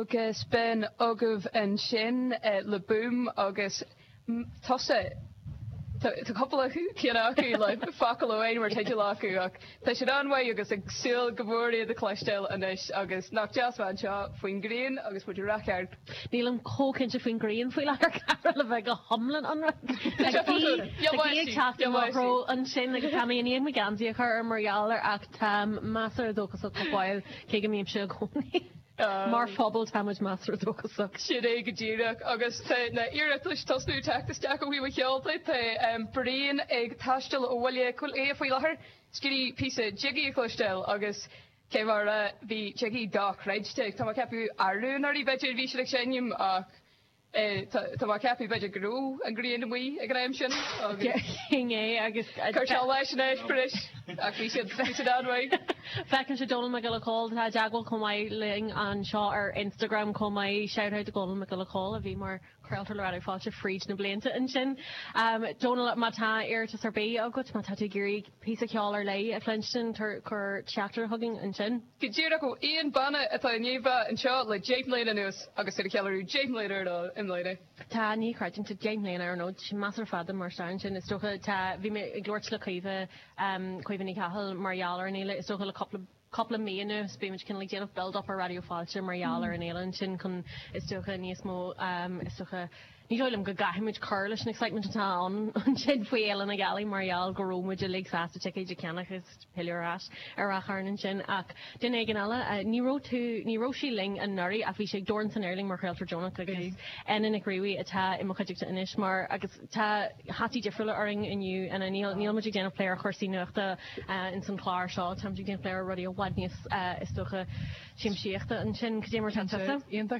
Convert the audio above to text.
Agus b'in agaibh ansin le Boom agus tusa. Tá cúpla ceann acu le focal amháin mar teideal acu ach tá siad an-mhaith agus ag súil go mór iad a chloisteáil anois agus nach deas bheith anseo faoin ghrian agus muid ar ceart. Nílim chomh cinnte faoin ghrian faoi láthair Cara le bheith go hiomlán ionraic. Tá gaoth ag teacht i mo threo ansin agus tá mé i ndiaidh mo gheansaí a chur orm mar gheall air ach táim measartha dóchasach go fóill cé go mbímse i gcónaí. Mar phobal tá muid measartha dóchasach. Sin é go díreach. Agus tá na hiarratais tosnú ag teacht isteach ó thaobh an cheoil de. Tá Brian ag taisteal ó Bhaile Átha Cliath faoi láthair. Is ag iarraidh píosa Jiggy a chloisteáil agus cé mar a bhí Jiggy dochreidte. Tá mé ag ceapadh arú anuraidh b'fhéidir bhí siad ag seinm ach Tá mé ag ceapadh b'fhéidir go raibh an ghrian amuigh ag an am sin agus. Sin é agus. Chuir sé leis an eispéireas ach bhí siad, bhí siad an-mhaith. Feicimse Dónal Mac Giolla Chóill, tá i dteagmháil chomh maith linn anseo ar Instagram chomh maith. Shout out do Dhónal Mac Giolla Chóill a bhí mar chraoltóir le Raidió Fáilte fríd na blianta ansin. Dónal, má tá iarratas ar bith agat, má tá tú ag iarraidh píosa ceoil ar leith a chluinstin, cuir teachtaireacht chugainn ansin. Go díreach ó aon banna atá i ndiaidh bheith anseo le 10 mbliana anuas agus iad ag ceiliúradh 10 mbliana ar an i mbliana. Tá, ní chreidim, tá 10 mbliana ar an fhód, sin measartha fada mar stair ansin, is dócha. Tá, bhí mé ag labhairt le Caoimhe, Caoimhe Ní Chathail mar gheall ar an fhéile, is dócha le cúpla, cúpla mí anuas, bímid cineál ag déanamh build up ar Raidió Fáilte mar gheall ar an fhéile ansin chun, is dócha, níos mó, is dócha, Ní dóigh liom go gcaithfimid cur leis an excitement atá ann ansin faoi Fhéile na Gealaí mar gheall go raibh muid uilig sásta ticéid a cheannach is pilleadh ar ais ar Ráth Chairn ansin ach duine éigin eile, ní raibh tú, ní raibh sí linn anuraidh ach bhí sí ag Dorn san Aer linn mar chraoltóir deonach agus Ena Nic Riabhaigh atá i mo chuideachta anois mar agus tá hataí difriúla orainn inniu Ena, níl, níl muid ag déanamh plé ar chúrsaí nuachta ins an chlár seo, táimid ag déanamh plé ar rudaí i bhfad níos is dócha siamsaíochta ansin. Cad é mar atá tusa? Iontach.